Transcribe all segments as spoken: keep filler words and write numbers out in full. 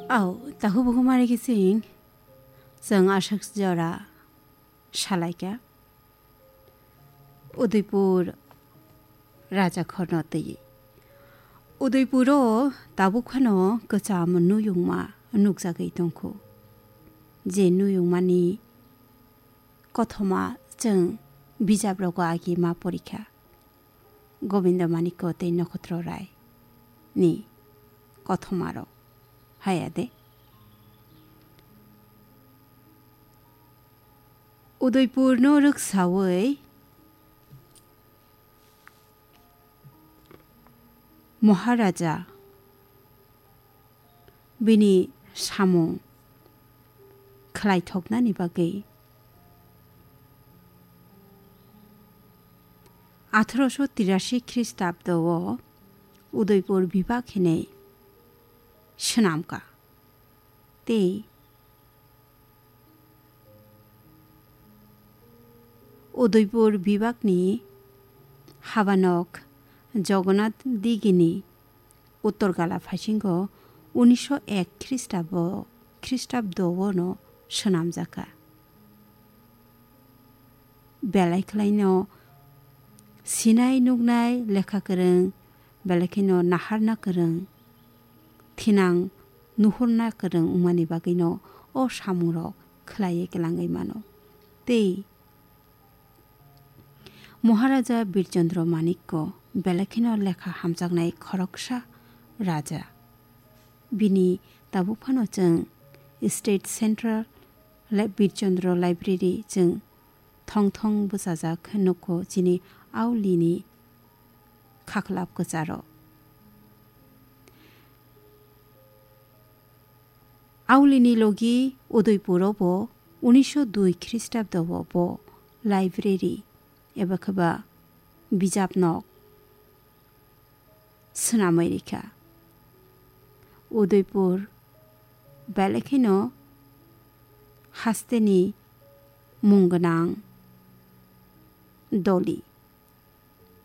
Au, tahu buhumari kising, chwng aswk jora salaikha. Udaipur raja khorno twi. Udaipuro tabuk phano kwcham nuyungma nukjagwi tongkhu. Je nuyungmani kothoma chwng bijaprogo agi ma porikha. Gobindo Manikko tei Nokhotro Rai ni kothomarok. Haya de. Udaipurno rwksawi Maharaja bini samung khlaithoknani bagwi atharoso tirashi Khristabdo o Udaipur bibak hinwi swnamkha. Tei Udaipur bibakni habanok Jagannath Digini Uttor Gala phaisingo unisho ek Khristabo, Khristabdo-o no swnamjakha. Belai khlaino sinai nuknai lekha kwrwng, belai kheno naharna kwrwng, thinang nuhurna kwrwng wngmani bagwino o samungrok khlaiwi kwlangwi mano. Tei Maharaja Birchandra Manikko belai kheno lekha hamjaknai khoroksa raja. Bini tabuk phano chwng State Central Li-, Birchandra Library chwng thong thong bwchajak nukho chini Aulini khaklap kwcharo. Aulini logi Udaipuro bo unisho dui Khristabdo bo, bo library eba khe ba bijap nok swnamwi rikha. Udaipur belai kheno hasteni mung gwnang doli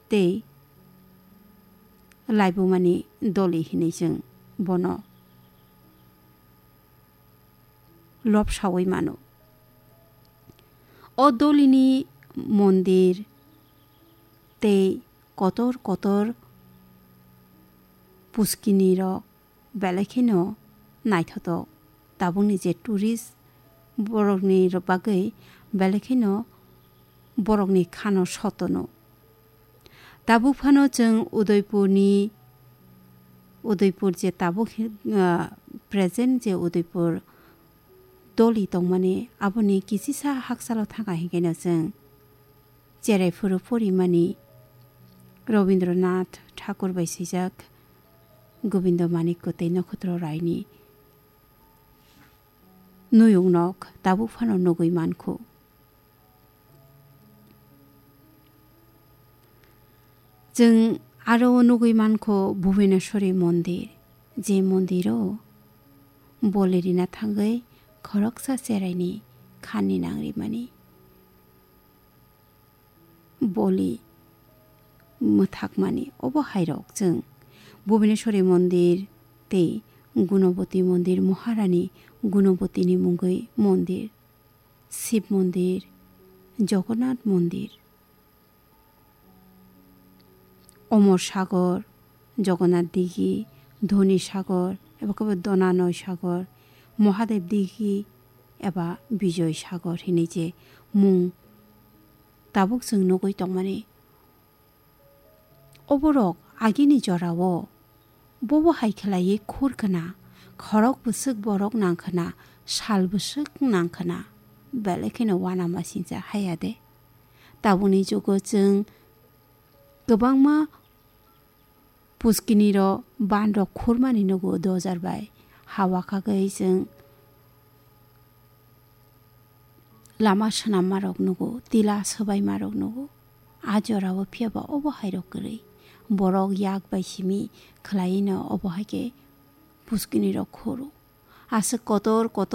tei laibumani doli hinwi chwng bono lobsawi mano. O dolini mondir tei kotor kotor puskinirok belai kheno naithotok. Tabukni je tourist borokni ro-, bagwi belai kheno borokni khano sotono. Tabuk phano chwng Udaipurni, Udaipur je tabuk hi-, ah, present je Udaipur doli tongmani, aboni kisisa haksalo thangkha hinkhe no chwng cherai phuru porimani Rabindranath Thakur bai swijak Gobindo Manikko tei Nokhotro Raini nuyungnok tabuk phano nugwi mankhu. Chwng aro o nugwi mankho Bhubaneswari mondir, je mondiro boli rina thangwi khoroksa cheraini khani nang rimani. Boli mwthakmani. Obo hairok chwng Bhubaneswari mondir tei Gunoboti mondir, Maharani Gunobotini mungwi mondir, Shiv mondir, Jagannath mondir, Omor Sagor, Jagannath Digi, Dhoni Sagor, eba khe bo Donanoi Sagor, Mahadev Digi eba Bijoy Sagor hinwi je mung tabuk chwng nugwi tongmani. Oborok agini jorao bobo hai khlaiwi khur khna, khorok bwswk borok nang khna, sal bwswk nang khna, belai kheno uanama singcha haya de. Tabukni jugo chwng kwbangma puskinirok banrok khurmani nugo dojar bai. Hawa khagwi chwng lama swnammarok nugo, tila swbaimarok nugo. A jorao phiyaba obo hairok kwrwi. Borok yak bai simi khlaino obo hai khe puskinirok khoro. Aswk kotor kotor